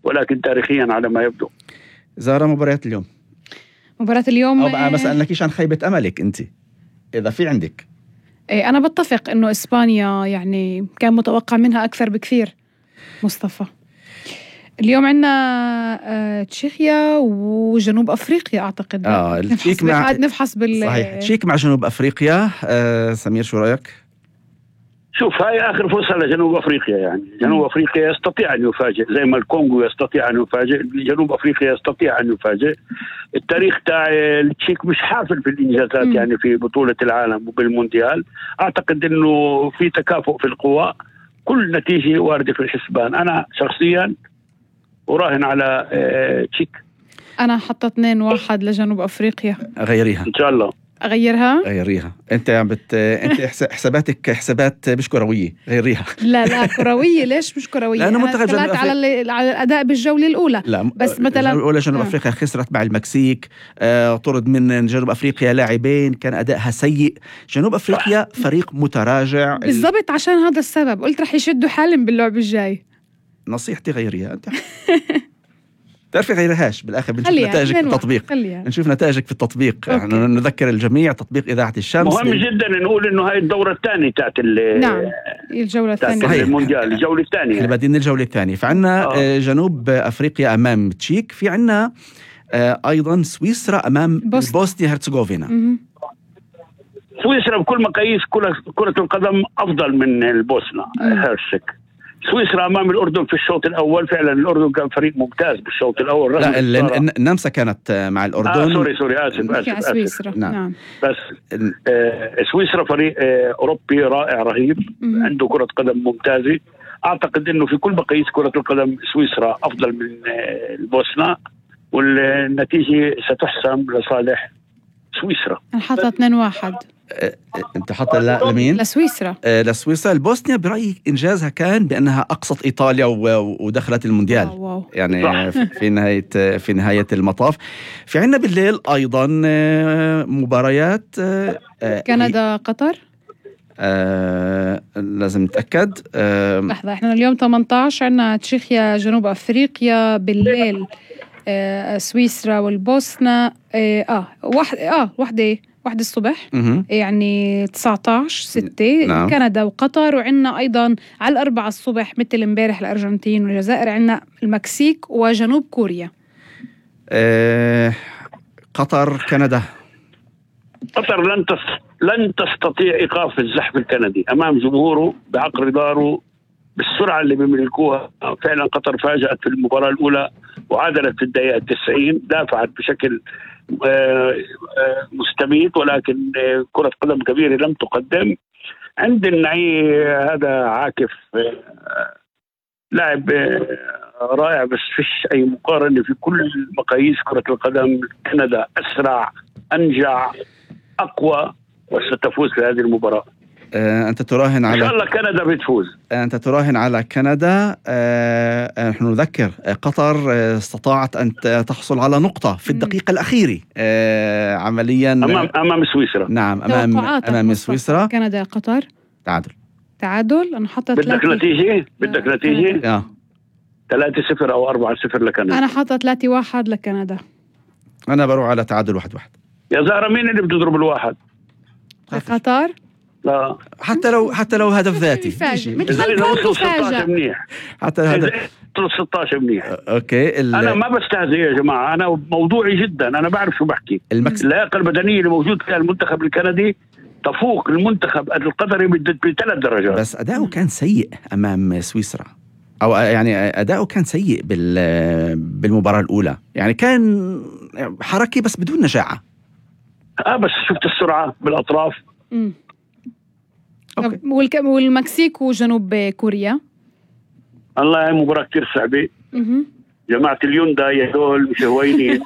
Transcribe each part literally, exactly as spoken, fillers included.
ولكن تاريخيا على ما يبدو. زارة مباريات اليوم مباراة اليوم أو بقى ما سألناكيش عن خيبة أملك أنت إذا في عندك. إيه أنا بتفق إنه إسبانيا يعني كان متوقع منها أكثر بكثير. مصطفى اليوم عنا آه، تشيخيا وجنوب أفريقيا أعتقد. آه نفحص مع نفحص بال صحيح تشيك مع جنوب أفريقيا. آه سمير شو رأيك؟ شوف هاي آخر فرصة لجنوب أفريقيا، يعني جنوب أفريقيا يستطيع أن يفاجئ زي ما الكونغو يستطيع أن يفاجئ، جنوب أفريقيا يستطيع أن يفاجئ. التاريخ تاع التشيك مش حافل في الإنجازات م. يعني في بطولة العالم وبالمونديال. أعتقد أنه في تكافؤ في القوى، كل نتيجة واردة في الحسبان. أنا شخصيا أراهن على تشيك. أنا حطت اثنين واحد لجنوب أفريقيا. غيريها إن شاء الله. أغيرها غيريها أنت عم بت أنت حساباتك حسابات مش كروية. غيريها. لا لا كروية. ليش مش كروية؟ لأنه أنا منتخب على ال... على الأداء بالجولة الأولى. لا بس مثلا الأولى جنوب آه. أفريقيا خسرت مع المكسيك. آه طرد من جنوب أفريقيا لاعبين، كان أدائها سيء. جنوب أفريقيا فريق متراجع بالضبط. عشان هذا السبب قلت رح يشدوا حالهم باللعب الجاي. نصيحتي غيريها أنت. تعرفي غيرهاش بالآخر بنشوف نتائجك في التطبيق. نشوف نتائجك في التطبيق. احنا نذكر الجميع تطبيق إذاعة الشمس. مهم ل... جدا نقول إنه هاي الدورة الثانية تاعت ال نعم الجولة الثانية المونديال، الجولة الثانية اللي بعدين الجولة الثانية. فعنا آه. جنوب أفريقيا أمام تشيك، في عنا آه أيضا سويسرا أمام بوسنيا هرتزغوفينا. سويسرا بكل مقاييس كرة القدم أفضل من البوسنة هرسك. سويسرا أمام الأردن في الشوط الأول، فعلا الأردن كان فريق ممتاز بالشوط الأول. لا النمسا كانت مع الأردن. آه سوري سوري آسف آسف, آسف. سويسرا. نعم. نعم بس آه سويسرا فريق آه أوروبي رائع رهيب. م- عنده كرة قدم ممتازة. أعتقد أنه في كل مقاييس كرة القدم سويسرا أفضل من آه البوسنة، والنتيجة ستحسم لصالح سويسرا. أنا حاطة اثنين واحد. انت حاطه لمين؟ لسويسرا. آه لسويسرا. البوسنيا برأيي انجازها كان بانها اقصت ايطاليا ودخلت المونديال. واو واو. يعني صح. في نهايه في نهايه المطاف. في عنا بالليل ايضا مباريات كندا قطر. آه لازم نتاكد. آه لحظه احنا اليوم ثمانية عشر عندنا تشيخيا جنوب افريقيا بالليل. آه سويسرا والبوسنة. اه, آه واحد اه واحده واحدة الصبح م- يعني تسعة عشر ستة. نعم. كندا وقطر. وعنا أيضا على الأربعة الصبح مثل امبارح الأرجنتين والجزائر، عنا المكسيك وجنوب كوريا. أه قطر كندا. قطر لن لن تستطيع إيقاف الزحف الكندي أمام جمهوره بعقر داره بالسرعة اللي بيملكوها. فعلا قطر فاجأت في المباراة الأولى وعادلت في الدقيقة التسعين، دافعت بشكل مستميت، ولكن كرة قدم كبيرة لم تقدم. عند النعي هذا عاكف لاعب رائع، بس فيش أي مقارنة في كل مقاييس كرة القدم. كندا أسرع أنجع أقوى وستفوز في هذه المباراة. آه، أنت تراهن على إن شاء الله كندا بتفوز. أنت تراهن على كندا. آه، نحن نذكر قطر استطاعت أن تحصل على نقطة في الدقيقة الأخيرة آه، عمليا أمام أمام سويسرا. نعم أمام أمام سويسرا. كندا قطر تعادل. تعادل. أنا حطت بدك نتيجة بدك نتيجة آه. ثلاثة صفر أو أربعة صفر لكندا. أنا حطت ثلاثة واحد لكندا. أنا بروح على تعادل واحد واحد. يا زهرة مين اللي بتضرب الواحد؟ قطر. لا حتى لو حتى لو هدف ذاتي إذا وصلوا ستة عشر منيح. حتى هذا وصلوا ستة عشر منيح. اوكي ال... انا ما بستهزئ يا جماعه، انا موضوعي جدا، انا بعرف شو بحكي. المكس... اللياقه البدنيه اللي موجود فيها المنتخب الكندي تفوق المنتخب القطري بثلاث درجات. بس اداؤه كان سيء امام سويسرا، او يعني اداؤه كان سيء بال بالمباراه الاولى، يعني كان حركي بس بدون نجاعه. اه بس شفت السرعه بالاطراف. امم والك... والمكسيك وجنوب كوريا. الله، هاي مباراة كتير صعبة. جماعة اليوندا هدول مش هوينين.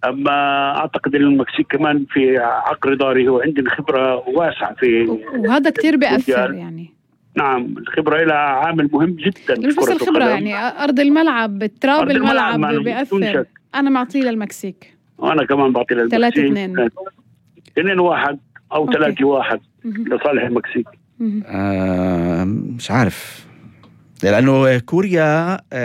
أما أعتقد أن المكسيك كمان في عقر داري، هو عندنا خبرة واسعة في، وهذا كتير بيأثر يعني. نعم الخبرة لها عامل مهم جدا. مش بس الخبرة يعني أرض الملعب، تراب الملعب, الملعب بيأثر. أنا معطيه للمكسيك. وأنا كمان بعطيه للمكسيك. ثلاثة اثنين اثنين واحد أو ثلاثة واحد لصالح المكسيك. آه مش عارف، لأنه كوريا